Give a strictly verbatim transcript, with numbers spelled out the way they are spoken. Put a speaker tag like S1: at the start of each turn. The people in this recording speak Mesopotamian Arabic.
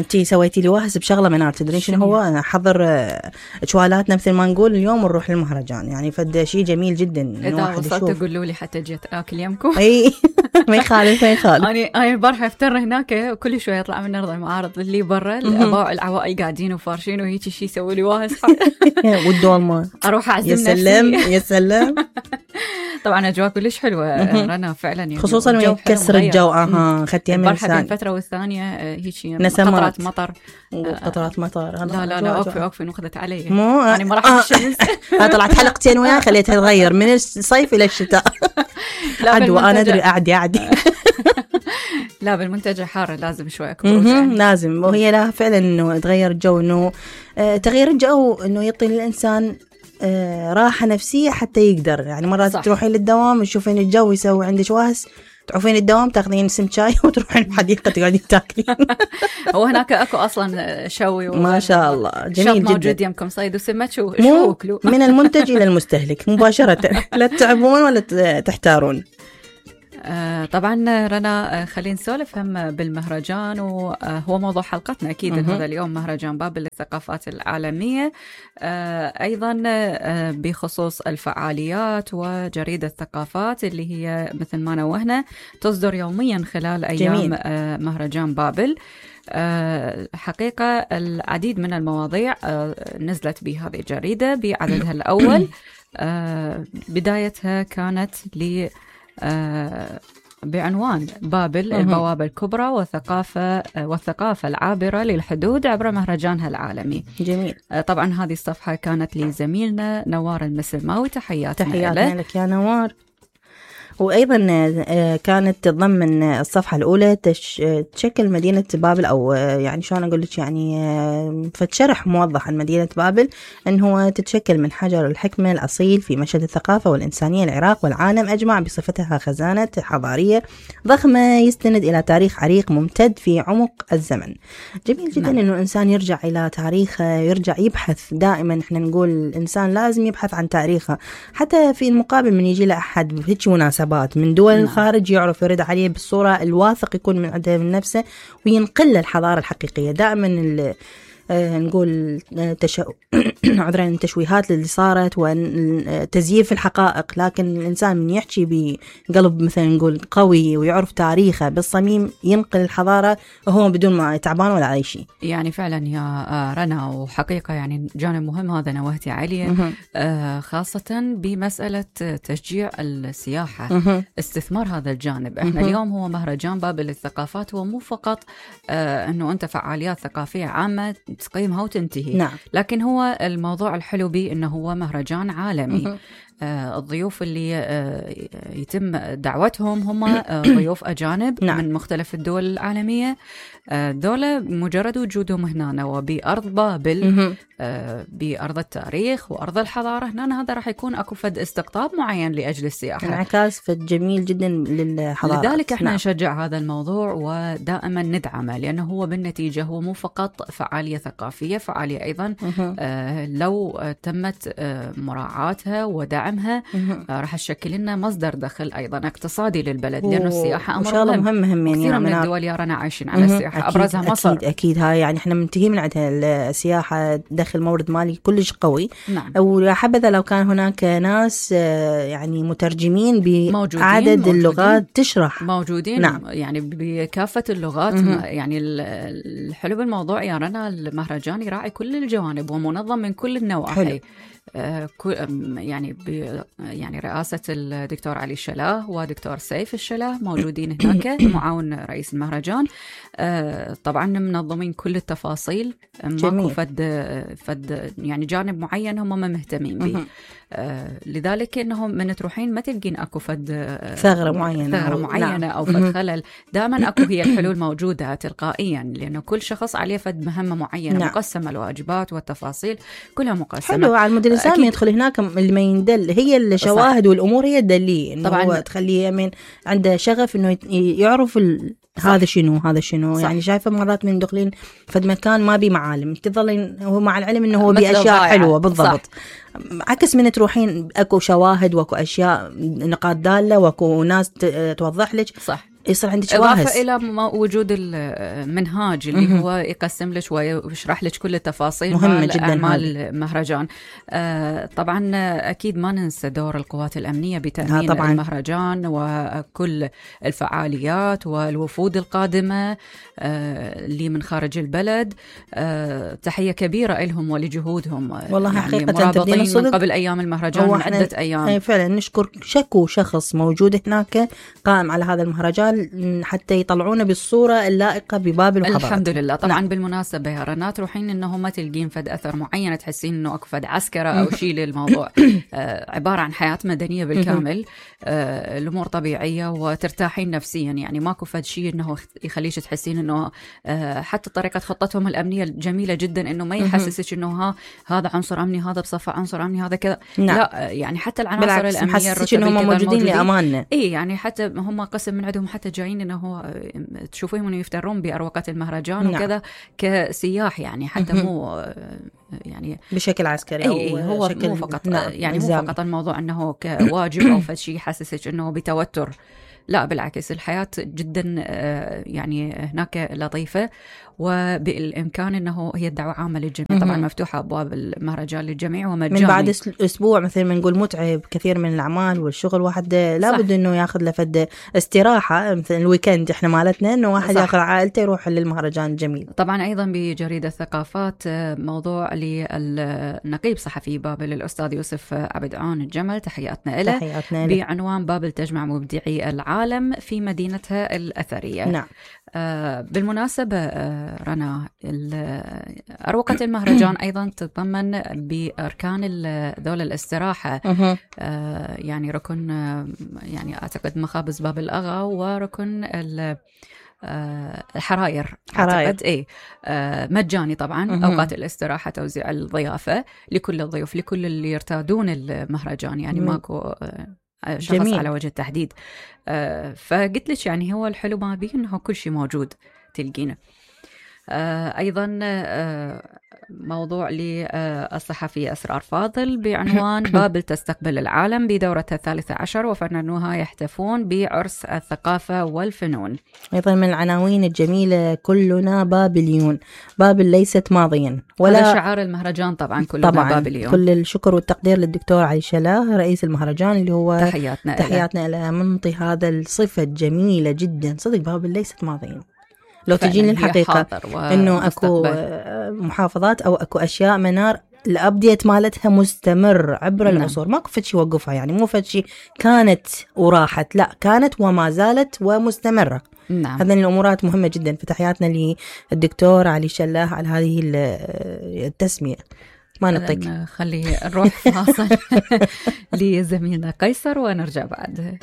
S1: انتي سويتي لي واهس بشغله منار، تدرين شنو هو؟ انا احضر شوالاتنا مثل ما نقول اليوم ونروح للمهرجان، يعني فد شيء جميل جدا.
S2: اذا وصلت قولوا لي حتى جيت اكل يمكم.
S1: اي ما يخالف ما يخالف.
S2: انا انا البارحه افتر هناك كل شويه يطلع من ارض المعارض اللي برا الاباء العوائل قاعدين وفارشين وهيك شيء يسوي لي واهس.
S1: والدولمه
S2: اروح اعزم نفسي.
S1: يا سلام يا سلام.
S2: طبعا اجواء كلش حلوه رنا فعلا، يعني
S1: خصوصا وين كسر الجو. اها خدتيها من
S2: البارحه بين فتره والثانيه هيك قطرات مطر
S1: قطرات مطر.
S2: لا لا لا اوقفي اوقفي ناخذت علي يعني ما راح الشمس.
S1: طلعت حلقتين وياي خليتها تغير من الصيف الى الشتاء. عدوى انا ادري قاعدي قاعدي.
S2: لا بالمنتجع حاره لازم شوي اكبر يعني.
S1: لازم، وهي لا فعلا انه تغير الجو، انه آه تغيير الجو انه يعطي للانسان آه راحه نفسيه حتى يقدر يعني مرات صح. تروحين للدوام تشوفين الجو يسوي عندك واهس، تروحين الدوام تاخذين سم شاي وتروحين الحديقه تقعدين تاكلين.
S2: هو هناك اكو اصلا شوي
S1: ما شاء الله جميل جدا
S2: موجود يمكم صيد وسمك شو شو اكلوا
S1: من المنتج الى المستهلك مباشره. لا تتعبون ولا تحتارون.
S2: آه طبعا رنا، خلينا نسولف هم بالمهرجان، وهو موضوع حلقتنا أكيد هذا اليوم مهرجان بابل للثقافات العالمية. آه أيضا آه بخصوص الفعاليات وجريدة الثقافات اللي هي مثل ما نوهنا تصدر يوميا خلال أيام آه مهرجان بابل. أه حقيقة العديد من المواضيع أه نزلت بهذه الجريدة بعددها الأول. أه بدايتها كانت ل أه بعنوان بابل البوابة الكبرى والثقافة والثقافة العابرة للحدود عبر مهرجانها العالمي.
S1: جميل.
S2: أه طبعا هذه الصفحة كانت لزميلنا نوار المسلماوي، تحياتنا
S1: تحياتنا لك يا نوار. وأيضا كانت ضمن الصفحة الأولى تش... تشكل مدينة بابل، أو يعني شلون أقول لك يعني فتشرح موضح عن مدينة بابل أن هو تتشكل من حجر الحكمة الأصيل في مشهد الثقافة والإنسانية العراق والعالم أجمع، بصفتها خزانة حضارية ضخمة يستند إلى تاريخ عريق ممتد في عمق الزمن. جميل جدا. نعم. إنه الإنسان يرجع إلى تاريخه، يرجع يبحث دائما. إحنا نقول الإنسان لازم يبحث عن تاريخه، حتى في المقابل من يجي له أحد بهيك مناسبة من دول نعم. الخارج يعرف يرد عليه بالصورة الواثق يكون من عنده من نفسه، وينقل الحضارة الحقيقية. دائما آه نقول تش... عذرا التشويهات اللي صارت وتزييف الحقائق، لكن الإنسان من يحكي بقلب مثلا نقول قوي ويعرف تاريخه بالصميم ينقل الحضارة وهو بدون ما يتعبان ولا أي شيء.
S2: يعني فعلا يا رنا، وحقيقة يعني جانب مهم هذا نوهتي عليه، آه خاصة بمسألة تشجيع السياحة، استثمار هذا الجانب. احنا اليوم هو مهرجان بابل للثقافات، هو مو فقط آه انه انت فعاليات ثقافية عامة تقيمها وتنتهي. نعم. لكن هو الموضوع الحلو به انه هو مهرجان عالمي. آه الضيوف اللي آه يتم دعوتهم هم آه ضيوف أجانب نعم. من مختلف الدول العالمية. آه دولة مجرد وجودهم هنا وبأرض بابل، آه بأرض التاريخ وأرض الحضارة، هنا هذا راح يكون أكو فد استقطاب معين لأجل السياحة،
S1: انعكاس فد جميل جدا للحضارة.
S2: لذلك احنا نعم. نشجع هذا الموضوع ودائما ندعمه، لأنه هو بالنتيجة هو مو فقط فعالية ثقافية، فعالية أيضا آه لو تمت آه مراعاتها ودعم آه راح تشكل لنا مصدر دخل أيضا اقتصادي للبلد، لأنه السياحة أمر
S1: مهم مهم مهم يعني
S2: كثير من الدول يا رنا عايشين على السياحة،
S1: أكيد
S2: أبرزها مصر.
S1: أكيد أكيد هاي يعني إحنا منتهي من عندها السياحة، دخل مورد مالي كلش قوي.
S2: نعم.
S1: وحبذا لو كان هناك ناس يعني مترجمين بعدد اللغات تشرح
S2: موجودين
S1: نعم.
S2: يعني بكافة اللغات. مم. يعني الحلو بالموضوع يا رنا المهرجان يراعي كل الجوانب ومنظم من كل النواحي. حلو. آه يعني يعني رئاسة الدكتور علي الشلاه ودكتور سيف الشلاه موجودين هناك معاون رئيس المهرجان. آه طبعا منظمين كل التفاصيل، ماكو فد فد يعني جانب معين هم ما مهتمين به. آه لذلك انهم من تروحين ما تلقين اكو فد
S1: ثغرة معينة
S2: ثغرة معينة نعم. او فد خلل، دائما اكو هي الحلول موجودة تلقائيا، لانه كل شخص عليه فد مهمة معينة نعم. مقسمة، الواجبات والتفاصيل كلها مقسمة.
S1: حلو على المدير السامي يدخل هناك اللي ما يندل، هي الشواهد والامور هي الدليل، طبعا هو تخليه من عنده شغف انه يعرف ال... هذا شنو هذا شنو صح. يعني شايفه مرات من دخلين فد مكان ما بي معالم تظلين هو مع العلم انه هو باشياء حلوه بالضبط صح. عكس من تروحين اكو شواهد واكو اشياء نقاط داله واكو ناس توضح لك
S2: صح.
S1: يصير عندك واهس.
S2: إضافة إلى وجود المنهاج اللي هو يقسم لك ويشرح لك كل التفاصيل
S1: مهمة جدا
S2: أعمال المهرجان. آه طبعا أكيد ما ننسى دور القوات الأمنية بتأمين
S1: طبعاً.
S2: المهرجان وكل الفعاليات والوفود القادمة آه اللي من خارج البلد. آه تحية كبيرة لهم ولجهودهم.
S1: والله
S2: يعني
S1: حقيقة
S2: مرابطين من قبل أيام المهرجان من عدة أيام.
S1: فعلا نشكر شكو شخص موجود هناك قائم على هذا المهرجان حتى يطلعونا بالصورة اللائقة ببابل وحضارة.
S2: الحمد لله. طبعا نعم. بالمناسبة يا رنا تروحين انه ما تلقين فد اثر معين تحسين انه اكو فد عسكرة او شيء للموضوع. آه عبارة عن حياة مدنية بالكامل. آه الامور طبيعية وترتاحين نفسيا، يعني ماكو فد شيء انه يخليش تحسين انه آه حتى طريقة خطتهم الامنية جميلة جدا، انه ما يحسسك انه ها هذا عنصر امني هذا بصفة عنصر امني هذا كذا.
S1: نعم.
S2: لا يعني حتى العناصر الامنية
S1: الرتبية هم موجودين لاماننا.
S2: اي يعني حتى هم قسم من عندهم حتى جايين انه هو تشوفوهم انه يفترون باروقة المهرجان. نعم. وكذا كسياح، يعني حتى مو يعني
S1: بشكل عسكري
S2: او هو
S1: شكل
S2: مو فقط.
S1: نعم.
S2: يعني مو فقط الموضوع انه كواجب او فشي يحسسك انه بتوتر، لا بالعكس الحياة جدا يعني هناك لطيفة، وبالإمكان أنه هي الدعوة عامة للجميع. طبعا مفتوحة أبواب المهرجان للجميع ومجاني.
S1: من بعد أسبوع مثل ما نقول متعب كثير من الأعمال والشغل، واحد لابد أنه ياخذ لفد استراحة مثل الويكند إحنا مالتنا، أنه واحد ياخذ عائلته يروح للمهرجان الجميل.
S2: طبعا أيضا بجريدة الثقافات موضوع للنقيب صحفي بابل الأستاذ يوسف عبد عون الجمل، تحياتنا له،
S1: تحياتنا
S2: بعنوان بابل تجمع مبدعي العالم في مدينتها الأثرية.
S1: نعم.
S2: آه بالمناسبة آه رنا، أروقة المهرجان أيضا تتضمن بأركان ذول الاستراحة. آه يعني ركن آه يعني أعتقد مخابز باب الأغا وركن آه الحراير.
S1: حراير
S2: ايه آه مجاني طبعا. مه. اوقات الاستراحه توزيع الضيافه لكل الضيوف لكل اللي يرتادون المهرجان، يعني مه. ماكو آه شخص جميل. على وجه التحديد. آه فقلت لك يعني هو الحلو ما بيه انه كل شيء موجود تلقينه. آه ايضا آه موضوع للصحفي أسرار فاضل بعنوان بابل تستقبل العالم بدورتها الثالثة عشر وفنانوها يحتفون بعرس الثقافة والفنون.
S1: أيضا من العناوين الجميلة كلنا بابليون، بابل ليست ماضيا
S2: ولا هذا شعار المهرجان. طبعا كلنا
S1: طبعاً
S2: بابليون.
S1: كل الشكر والتقدير للدكتور علي شلاه رئيس المهرجان اللي هو
S2: تحياتنا
S1: تحياتنا له منطي هذا الصفة الجميلة جدا. صدق بابل ليست ماضيا. لو تجيني الحقيقة إنه أكو محافظات أو أكو أشياء منار الأبديت مالتها مستمر عبر نعم. العصور، ماكو فتشي وقفها، يعني مو فتشي كانت وراحت، لا كانت وما زالت ومستمرة.
S2: نعم.
S1: هذه الأمورات مهمة جدا. فتحياتنا للدكتور علي شلاه على هذه التسمية. ما نطق
S2: خلي نروح فاصل لزميلنا قيصر ونرجع بعد.